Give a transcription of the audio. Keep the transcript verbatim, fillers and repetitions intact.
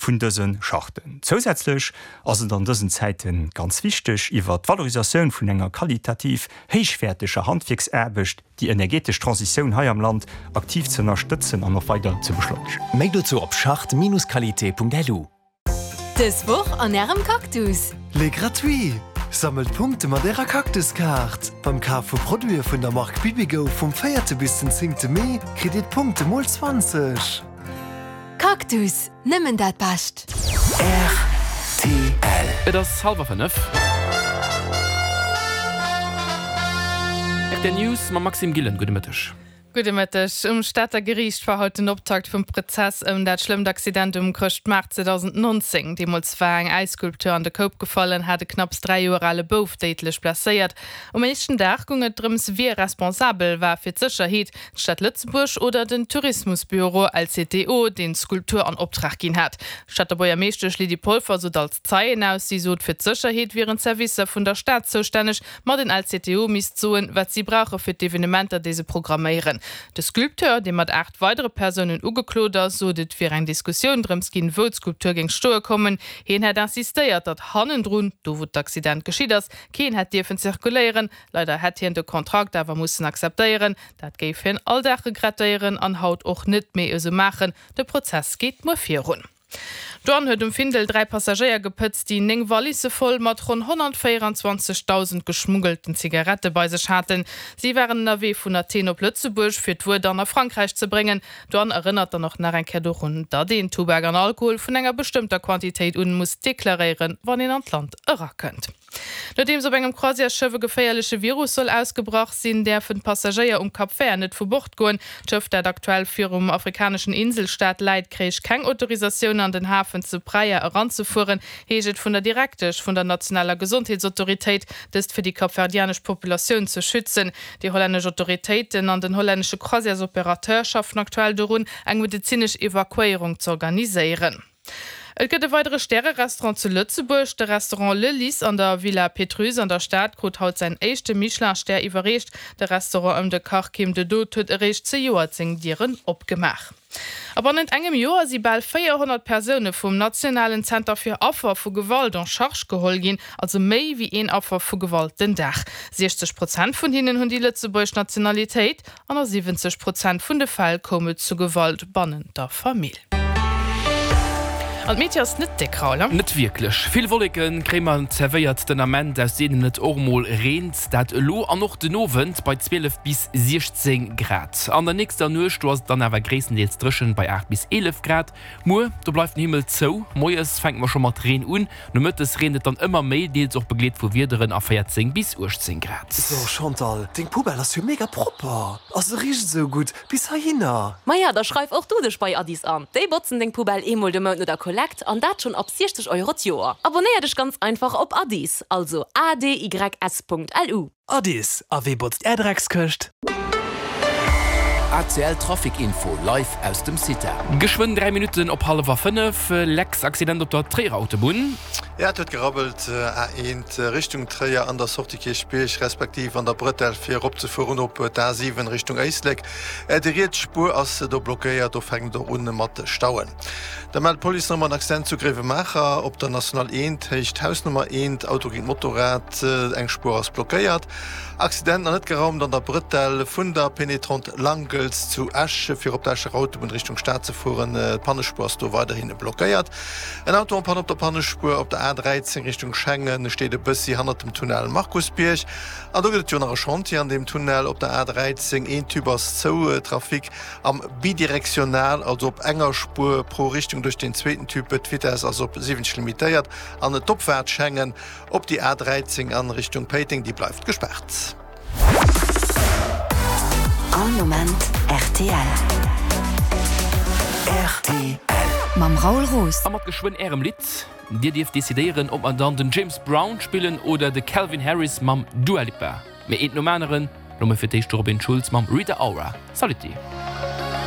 vun dëse Charten. Zousätzlech ass et an dësen Zäite ganz wichteg, iwwer d'Valorisatioun vun enger qualitativ héichwäerteger Handwierksaarbecht déi energetesch Transitioun hei am Land aktiv ze ënnerstëtzen an och weider ze beschleunegen. Méi dozou op charte-qualité.lu. Dës Woch an Ärem Cactus! Les gratuits! Sammelt Punkte mat Ärer Cactus-Kaart! Beim Kaf vu Produite vun der Mark Bibigo vum véierte bis den zéngte Mee kritt Dir d'Punkte mol zwanzeg! Cactus, nëmmen dat Bescht! Rtl. Et ass hallwer fënnef. Rtl News mam Maxime Gillen. Gudde Mëtteg. Gudde Mëtteg. Um Stater Geriicht war haut den Optakt vum Prozess ëm dat schlëmmt Accident um Chrëschtmaart zweedausendnonzéng. Deemools war eng Äisskulptur an de Koup gefall an hat e knapps dräi Joer ale Bouf déidlech blesséiert. Um éischten Dag goung et drëms, wie responsabel war fir d'Sécherheet, d'Stad Lëtzebuerg oder den Tourismusbüro L C T O, deen d'Skulptur an Optrag ginn hat. D'Stater Buergermeeschtesch Lydie Polfer sot als Zeien aus. Si sot, fir d'Sécherheet wieren d'Servicer vun der Stad zoustänneg, ma den L C T O misst soen, wat si brauche fir d'Evenementer, déi se programméieren. De Sculpteur, dee mat aacht weidere Persounen ugeklot ass, sot, et wier eng Diskussioun drëms ginn, wou d'Skulptur géing stoe kommen. Hien hätt insistéiert, datt hannendrun, do wou d'Accident geschitt ass, keen hätt dierfen zirkuléieren. Leider hätt hien de Kontrakt awer mussen akzeptéieren. Dat géif hien all Dag regrettéieren an haut och net méi esou maachen. De Prozess geet muer virun. D'Douane huet um Findel dräi Passagéier gepëtzt, déi néng Wallisse voll mat ronn honnertvéierenzwanzegdausend geschmuggelten Zigarette bei sech haten. Si waren ënnerwee vun Athen op Lëtzebuerg, fir d'Wuer dann a Frankräich ze bréngen. D'Douane erënnert dann och nach eng Kéier dorun, datt een Tubak an Alkohol vun enger bestëmmter Quantitéit un muss deklaréieren, wann een an d'Land erakënnt. Nodeems op engem Croisièresschëff e geféierleche Virus soll ausgebrach sinn, däerfen d'Passagéier um Cap Vert net vu Bord goen. D'Schëff, dat aktuell virum afrikaneschen Inselstaat läit, kréich keng Autorisatioun an den Hafen zu Praia eranzefueren, heescht et vun der Direktesch vun der nationaler Gesondheetsautoritéit, dëst fir déi kapverdianesch Populatioun ze schützen. Déi hollännesch Autoritéiten an den hollännesche Croisièresoperateur schaffen aktuell dorun, eng medezinesch Evakuéierung z'organiséieren. Et gëtt e weidere Stäre-Restaurant zu Lëtzebuerg. De Restaurant Le Lys an der Villa Pétrusse an der Stad krut haut säin éischte Michelin-Stär iwwerreecht. De Restaurant ëm de Kach Kim de Dood huet eréischt zejoert seng Dieren opgemaach. A bannent engem Joer si bal véierhonnert Persoune vum nationalen Zenter fir Affer vu Gewalt en charge geholl ginn, also méi wéi een Affer vu Gewalt den Dag. siechzeg Prozent vun hinnen hunn déi lëtzebuergesch Nationalitéit an a siwwenzeg Prozent vun de Fäll koum et zu Gewalt bannent der Famill. An d'Meteo ass net déck, Raoul, he? Net wierklech. Vill Wolleke kréie mer zerwéiert den Ament, aus deenen et och mol reent. Dat elo an och den Owend bei zwielef bis siechzéng Grad. An der nächster Nuecht, do ass et dann awer gréisstendeels dréchen bei aacht bis eelef Grad. Muer, do bleift den Himmel zou, moies fänke mer scho mat Reen un, nomëttes reent et dann ëmmer méi, deels och begleet vu Wiederen a véierzéng bis uechtzéng Grad. So Chantal, deng Poubelle ass jo mega propper a se richt esou gutt bis heihinner. Maja, da schreif och du dech bei Adys an. Déi botzen deng Poubelle eemol de Mount no der Kollekt an dat schonn ab siechzeg Euro d'Joer. Abonéier dech ganz einfach op Adys, also A D Y S Punkt L U. Adys, a wee botzt är Dreckskëscht? A C L Trafic Info live aus dem CITA. Geschwënn dräi Minutten op hallwer fënnef, Lex, Accident op der Tréierer Autobunn. Ja, et huet gerabbelt, A eent Richtung Tréier an der Sortie Kierchbierg, respektiv an der Bretelle fir eropzefueren op d'A siwen Richtung Éislek. Déi riets Spuer ass do blockéiert, do fänkt et och un mat Stauen. Da mellt d'Police nach emol en Accident zu Gréiwemaacher op der National eent, Héicht Hausnummer eent, Auto géint Motorrad, eng Spuer ass blockéiert. Accident nach net geraumt an der Bretelle vun der Pénétrante Langels zu Esch, fir op d'Escher Autobunn Richtung Stad ze fueren. D'Pannespuer ass do weiderhi blockéiert. En Auto en panne op der Pannespuer op der A dräizéng Richtung Schengen steet e bëssi hannert dem Tunnel Markusbierg. An do gëtt et jo nach e Chantier an deem Tunnel op der A dräizéng. Een Tube ass zou, Trafic am bidirektional, also op enger Spuer pro Richtung duerch deen zweeten Tube. D'Vitess ass op siwwenzeg limitéiert an d'Opfaart Schengen op déi A dräizéng an Richtung Péiteng, déi bleift gespaart. All Moment rtl. Rtl. Mam Raoul Roos. A mat geschwënn ärem Lidd. Dir dierft decidéieren, ob mer dann den James Brown spillen oder de Calvin Harris mam Dua Lipa. Mee eent nom aneren, lo mol fir d'éischt de Robin Schulz mam Rita Ora. Saluti.